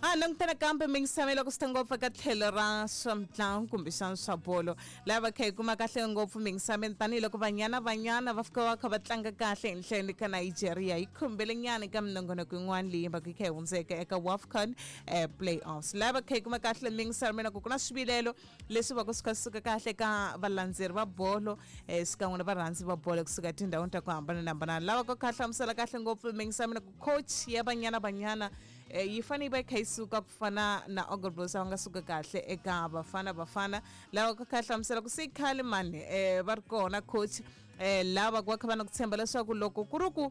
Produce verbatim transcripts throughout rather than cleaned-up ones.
A langutana kambe mingisame loko swi ta ngopfu eka tlhelo ra swa mitlangu kumbexana swa bolo laha va kha hi kuma kahle ngopfu mingisameni tanihiloko Banyana Banyana va fika va kha va tlanga kahle henhleni ka Nigeria yi khumbele nyana eka minongonoko yin'wana leyi va ku yi kha yi hundzeka eka WAFCON eh, playoffs laha va kha hi kuma kahle mingisameni ku ku na swivilelo leswi va ku swi kha swi suka kahle ka valandzeri va bolo eh, xikan'we na varhandzi va bolo kusuka etindhawini ta ku hambanahambana lava ku kha hlamusela kahle ngopfu mingisameni ku coach ya Banyana Banyana eh, yi fanele yi va yi kha yi suka ku fana na Hugo Broos va nga suka kahle eka Bafana Bafana lava ku kha hlamusela ku se i khale mani eh, va ri kona coach eh, lava ku va kha va na ku tshemba leswaku loko ku ri ku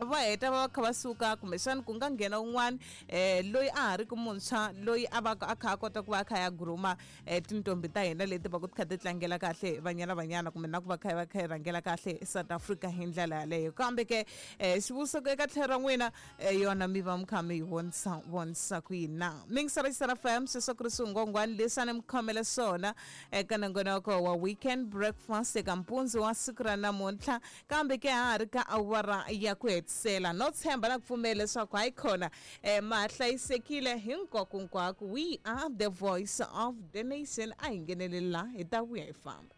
va heta va va kha va suka kumbexana ku nga nghena un'wana um loyi a ha ri ku muntshwa loyi a va a kha a kota ku va a kha ya grooma um tintombi ta hina leti va ku ti kha ti tlangela kahle Banyana Banyana kumbe na ku va kha va kha yi rhangela kahle South Africa hi ndlela yaleyo kambe ke um xivutiso eka tlhelo ra n'wina eh, yona mi va mi kha mi yi vonisa vonisa ku yini na mingisara F M sweswo ku ri swingongwani leswi a ni mi khomele swona eka nongonoko wa Weekend Breakfast eka mpundzu wa siku ra namuntlha kambe ke ha ha ri ka awara ya ku hetisela no tshemba na ku pfumela leswaku hayi khona um ma hlayisekile hinkwakunkwako. We are the voice of the nation. A hi ngheneleli la hi ta vuya hi famba.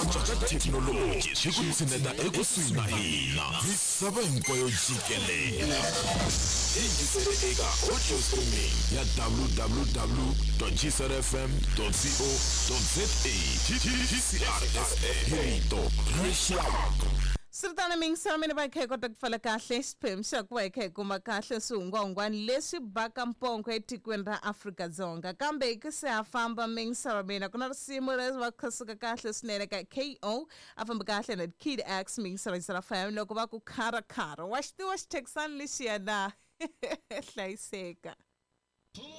Antswa ka thekinoloji swi ku tshineta ekusuhi na hina misava hinkwayo jikelele. Yingisele eka audio streaming ya W W W G C R F M co za. G C R F M, rito ra rixaka. Swi mingiselo mina va hi kha hi kota ku pfala kahle xiphemu xa ku va hi kha hi kuma kahle swihungwahungwani leswi baka mpongo etikweni ra Afrika-Dzonga kambe hi ku se ha famba mingiselo mina ku na risimu leri va kha suka kahle swinene ka ko a famba kahle na Kid X mingiselo yisela fam loko va ku kharakhara wa xi tiva xithekisani lexiya na hlayiseka.